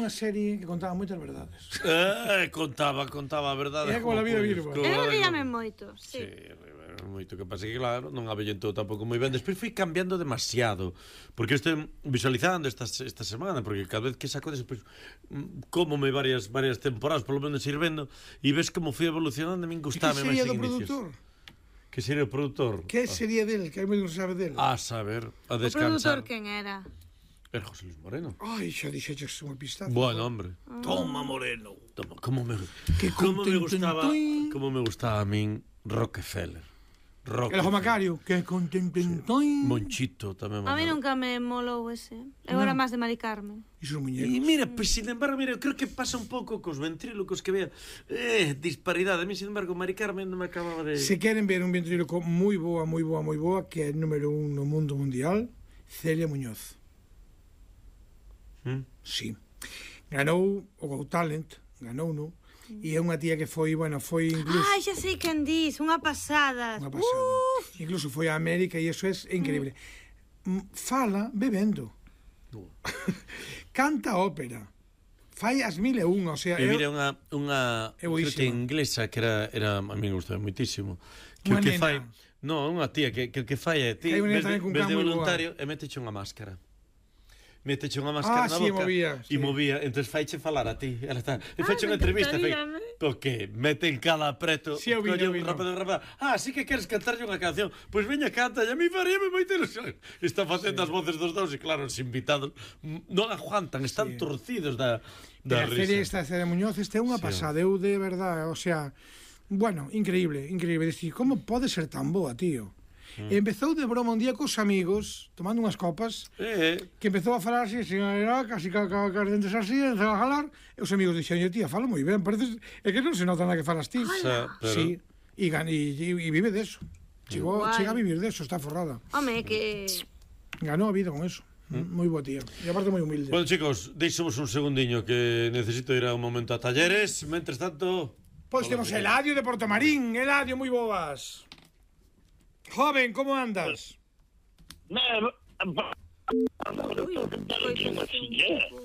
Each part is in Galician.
unha serie que contaba moitas verdades. Contaba a verdade. É como a vida virva. Eu ríame moito, sí. Moito que pasa que claro, non avellentou tampouco moi ben. Despois foi cambiando demasiado, porque eu estou visualizando esta semana, porque cada vez que saco despois cómome varias temporadas, polo menos ir vendo, e ves como foi evolucionando, a min gustame máis en inicios. Que sería o produtor? Que sería del? Que hai moi non sabe del. A saber, a descansar. O produtor quen era? Era José Luis Moreno. Ai, xa dixeches unha pistaza. Bueno, hombre. Toma, Moreno. Toma, como me gustaba a min Rockefeller. El Ojo Macario, que contententoin. Monchito tamén. A mí nunca me molou ese. Eu era máis de Mari Carmen. E sus muñecos. E mira, pues, sin embargo, eu creo que pasa un pouco cos ventrílocos que vea disparidade. A mí, sin embargo, Mari Carmen non me acababa de... Se queren ver un ventríloco moi boa, que é número 1 no mundo mundial, Celia Muñoz. Sí. Ganou o Got Talent, ganou, non? E é unha tía que foi, foi incluso... Ai, xa sei quen dis, unha pasada. Unha pasada. Incluso foi a América e iso é increíble. Fala bebendo. Canta ópera. Fai as 1001, o sea... E mira unha fruta inglesa que era a mí me gustaba moitísimo. Que o que fai... Non, unha tía que fai é ti, ves de voluntario e meteche unha máscara. Meteche unha máscara na boca e movía, entón faiche falar a ti. Ela está, e faiche unha entrevista, porque mete en cada apreto, colle un rápido. Sí que queres cantarlle unha canción, pois veña, canta, e a mí faríame moita ilusión. Está facendo as voces dos dous e claro, os invitados non aguantan, están torcidos da risa. Esta Celia Muñoz, é unha pasada, eu de verdade, o sea, bueno, increíble. Como pode ser tan boa, tío? Empezou de broma un día cos amigos tomando unhas copas que empezou a falar así, casi ca dentes así, empezou a falar e os amigos dixen, tía, fala moi ben, pareces, é que non se nota nada que falas ti. Sí, e vive de eso. Chega a vivir de eso, está forrada. Home, que... Ganou a vida con eso. Moi boa tía, e aparte moi humilde. Bueno, chicos, deixemos un segundiño que necesito ir a un momento a talleres. Mentres tanto... Pois temos Eladio de Portomarín. Eladio, moi boas. Joven, como andas?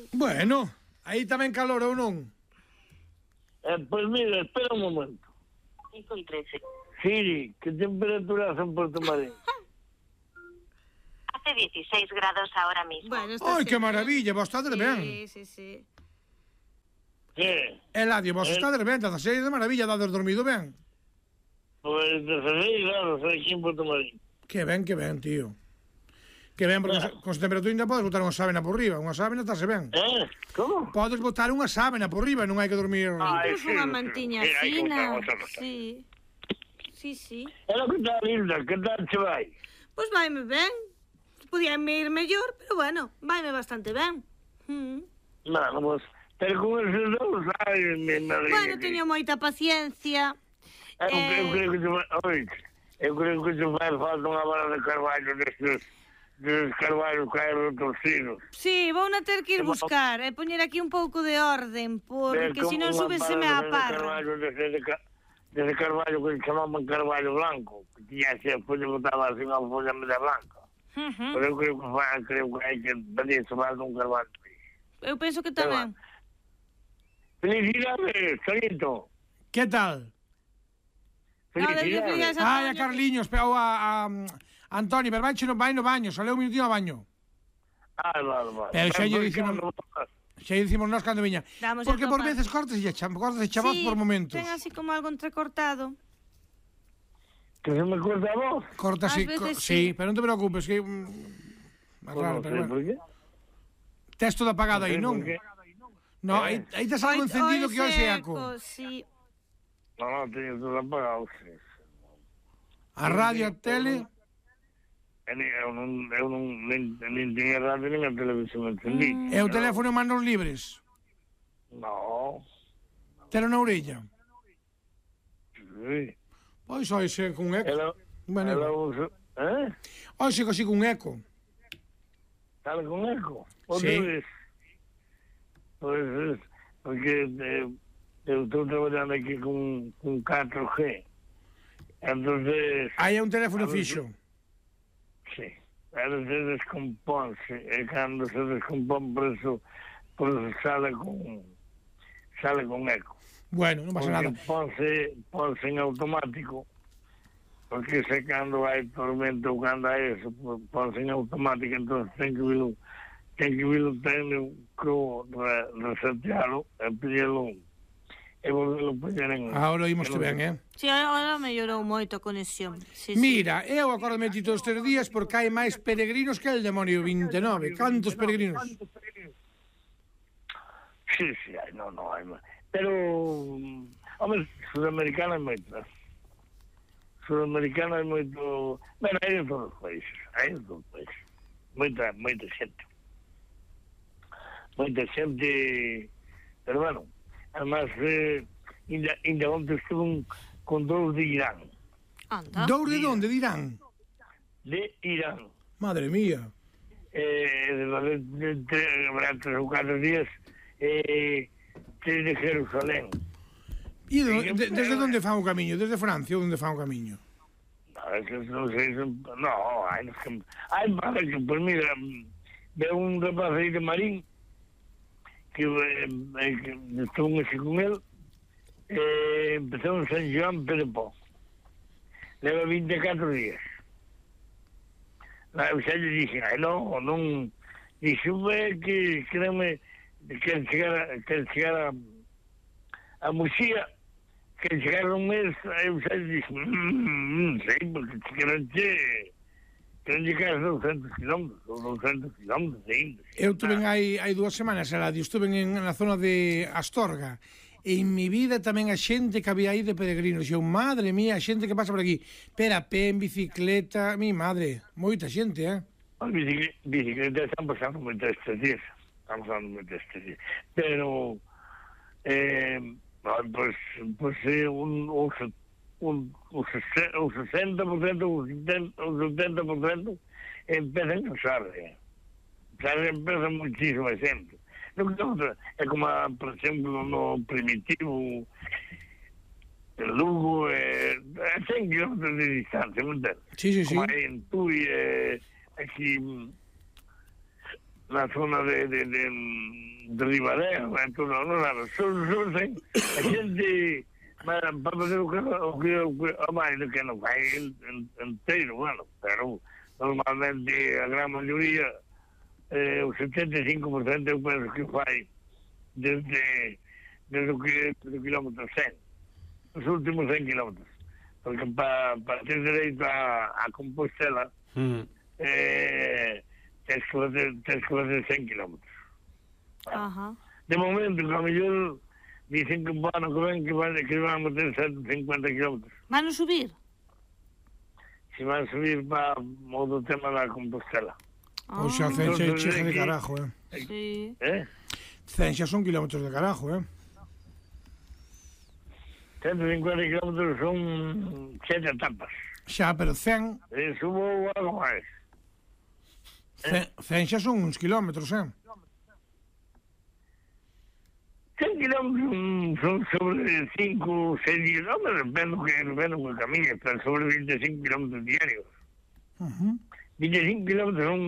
Bueno, aí tamén calor ou non? Pois mira, espera un momento. Siri, que temperatura hace en Portomarín? Hace 16 grados ahora mismo. Bueno, ai, que maravilla, vos estades ben. Sí. Que? Eladio, vos estades ben, 16 de maravilla, dades dormido ben. Pois 16 grados aquí en Portomarín. Que ben, tío. Que ben, porque con esa temperatura ainda podes botar unha sábana por riba. Unha sábana estase ben. Como? Podes botar unha sábana por riba, non hai que dormir... Incluso unha mantiña fina. Sí. É lo que está linda, que tal che vai? Pois vaime ben. Podíame ir mellor, pero bueno, vaime bastante ben. Bueno, pues, pero con esos dous, mi madre... Bueno, teño moita paciencia. Eu creo que te fai falta unha vara de carballo destes carballos caeron torcidos. Sí, vou na ter que ir buscar e poñer aquí un pouco de orden, porque se non súbeseme a parra. Dese carballo que chamaban carballo blanco, que tiña así, despois botaba así unha folla media blanca. Pero eu creo que hai que pedirse máis un carballo. Eu penso que tamén. Felicidades, Solito. Que tal? Felicidades. Ai, a Carliños, pero a Antoni, pero vai no baño, saleu un minutino ao baño. Vale. Pero xa lle dicimos nós cando viña. Porque por veces cortes e chavos por momentos. Ten así como algo entrecortado. Que se me corta a voz? Corta así, sí, pero non te preocupes, que... Raro, pero bueno. Tes todo apagado aí, non? No, aí tes algo encendido que hoxe é eco. Sí. Non, teño todo apagado. A radio, a tele... Eu non teño radio nem a televisión encendí. E o teléfono en manos libres? No. Telo na orella? Sí. Pois oise con eco. Oise así con eco. Sale con eco? Sí. Pois, porque eu estou traballando aquí con 4G. Entonces... Aí é un teléfono fixo. Sí. A veces descompónse. E cando se descompón, por eso pues sale con eco. Bueno, non pasa nada. Ponse en automático, porque se cando hai tormento ou cando hai eso, ponse en automático, entón ten que vir o técnico resetealo e pedilo e volvelo poñer en... Ahora oímoste ben, Si, ahora mellorou moito a conexión. Mira, eu acordame todos estes días porque hai máis peregrinos que el demonio 29. Cantos peregrinos? Sí, hai, non hai máis. Pero, hombre, sudamericana hai moitas. Sudamericana hai moito... Bueno, hai de todos os países. Moita xente. Pero, bueno, además, ainda onde estuve con dous de Irán. Anda. Dous de onde? De Irán? De Irán. Madre mía. De 3 ou 4 días... de Jerusalén. E desde onde fan o camiño? Desde Francia ou onde fan o camiño? Non sei, hai para que, pues mira, ve un rapaz aí de Marín que estuve así con él, empezamos en Joan Pedepó, leva 24 días. Xa lle dixen, non, dixo, que créeme, quer chegar a Muxía, quer chegar un mes, eu xa dixo, non sei, porque queren chegar a 200 kilómetros, ou 200 kilómetros ainda. Eu tuve hai 2 semanas, estuve na zona de Astorga, e en mi vida tamén a xente que había aí de peregrinos, eu, madre mía, a xente que pasa por aquí, pero a pé, en bicicleta, mi madre, moita xente, As bicicletas están pasando moito estes días. Pero pues un 60%, un 70% empiezan a usar. Empieza muchísima gente. É como, por exemplo, no Primitivo, el Lugo, 100 kilómetros de distancia, ¿me entiendes? Sí. Como aí en Tui, aquí na zona de Ribadeo, solo a xente para fazer o que non fai inteiro, bueno, pero normalmente a gran maioría, o 75% eu penso que fai desde o kilómetro 100, os últimos 100 kilómetros, porque para ter dereito a Compostela, tens que fazer 100 kilómetros. De momento, que a mellor dicen que bueno, que van a meter 150 kilómetros. Van a subir? Si van a subir para o tema da Compostela. O xa Cenxa cheja de carajo, Sí. Cenxa son kilómetros de carajo, 150 kilómetros son 7 etapas. Xa, pero 100... Subo algo máis. Cenxa son uns kilómetros, 100 kilómetros son sobre 5 ou 6 días, non, depende do que camiñe, están sobre 25 kilómetros diarios. 25 kilómetros son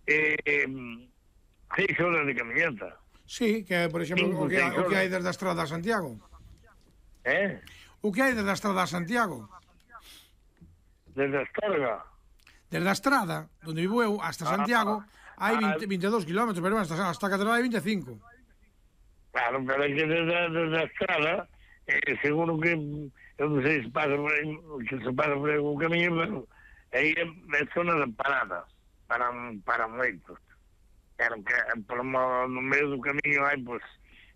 6 horas de caminhata. Sí, que por exemplo, o que hai desde a Estrada a Santiago. O que hai desde a Estrada a Santiago? Desde a Astorga? Desde a Estrada, onde vivo eu, hasta Santiago, hai 22 kilómetros, pero hasta a Catedral hai 25. Claro, pero é que desde a Estrada, seguro que, eu non sei se pasa por aí, o camiño, pero aí é zona de parada, para moitos. Claro que no medio do camiño hai, pois,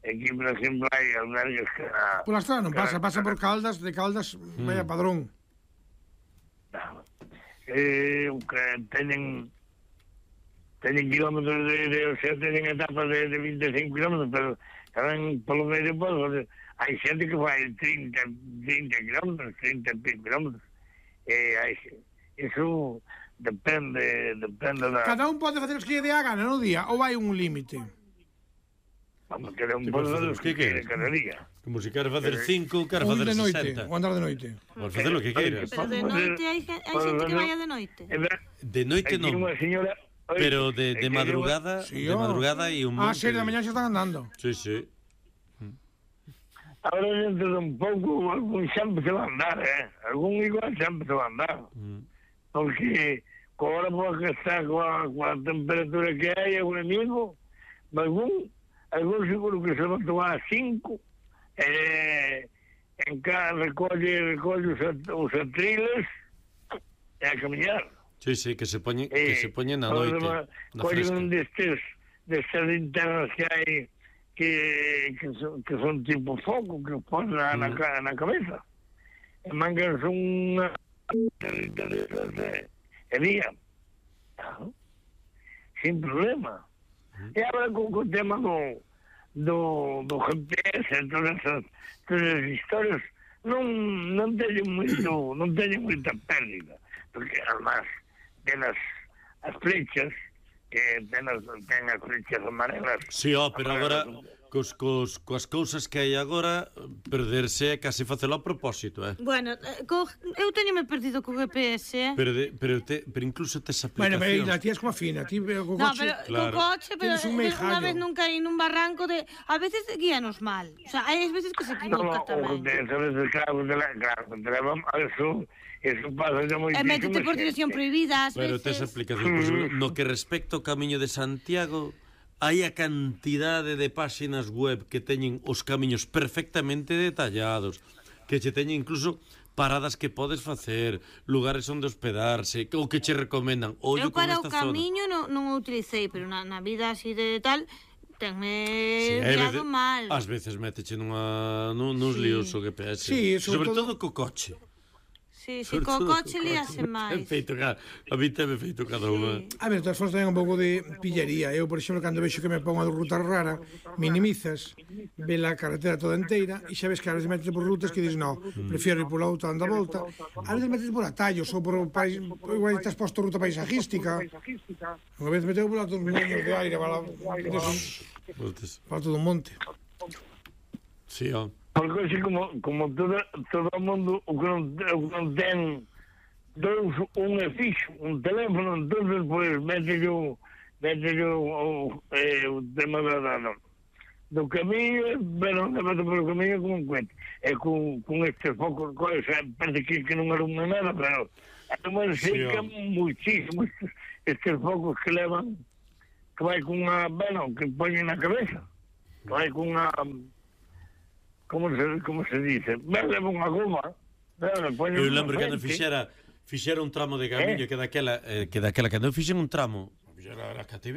aquí, por exemplo, hai albergues que... Pola Estrada non pasa por Caldas, de Caldas vai a Padrón. Que teñen kilómetros o sea, teñen etapas de 25 kilómetros, pero tamén polo medio, pues, hai xente que fai 30 kilómetros, 30 kilómetros. Iso depende da... Cada un pode facer os que lle dé a gana no día, ou hai un límite? Vamos, cada un pode facer os que quere cada día. Como se quer facer 5, quer facer 60. Ou andar de noite. Podes facer o que queiras. Pero de noite hai xente que vaya de noite. De noite non. Hai unha señora Pero de madrugada, de madrugada e un monte. 6 da mañá xa están andando. Sí, sí. Ahora dentro de un pouco, algún xa empezou a andar, algún igual xa empezou a andar. Porque agora porque está coa temperatura que hai agora mismo, algún seguro que se va a tomar 5, en cada recolle os atriles e a camiñar. Sí, que se poñen na noite. Collen destas linternas que hai que son tipo foco, que ponen na cabeza. E mangan unha e día. Sin problema. E agora con o tema do GPS, todas as historias, non teñen moita pérdida, porque además ten as flechas, que ten as flechas amarelas. Sí, pero agora coas cousas que hai agora, perderse é casi facelo a propósito, Bueno, eu teñome perdido co GPS, Pero incluso tes aplicacións. Bueno, pero ti es como fina, ti co coche... co coche, pero unha vez non caí nun barranco de... A veces guíanos mal, o sea, hai veces que se equivoca tamén. Eso pasa ya moitísimo. E métete por dirección prohibida, ás veces. Pero tes aplicacións. No que respecta ao Camiño de Santiago, hai a cantidade de páxinas web que teñen os camiños perfectamente detallados, que che teñen incluso paradas que podes facer, lugares onde hospedarse, ou que che recomendan. Eu para o camiño non o utilicei, pero na vida así de tal... tenme guiado mal. Ás veces méteche nuns líos o GPS. Sí, sobre todo co coche. Sí, co coche líase máis. A mí teme feito cada unha. A ver, todas formas ten un pouco de pillería. Eu, por exemplo, cando vexo que me pongo a ruta rara, minimizas, ve a carretera toda inteira, e xa ves que a veces metes por rutas que dices, no, prefiero ir pola outra, anda a volta. A veces metes por atallos, ou por igual estás posto ruta paisajística. Unha vez meteu por outros moños de aire, para todo un monte. Sí, Porque así como todo o mundo o que non ten un fixo, un teléfono, entonces pues mete yo o tema do camiño, pero non meto polo camiño como un cuento. E con estes focos, parece que non arruma nada, pero además seca muchísimo estes focos que levan, que vai con unha, que poñen na cabeza, que vai con unha... Como se dice? Leva unha goma. Eu lembro que fixera un tramo de camiño que daquela cando eu fixen un tramo, era KTV,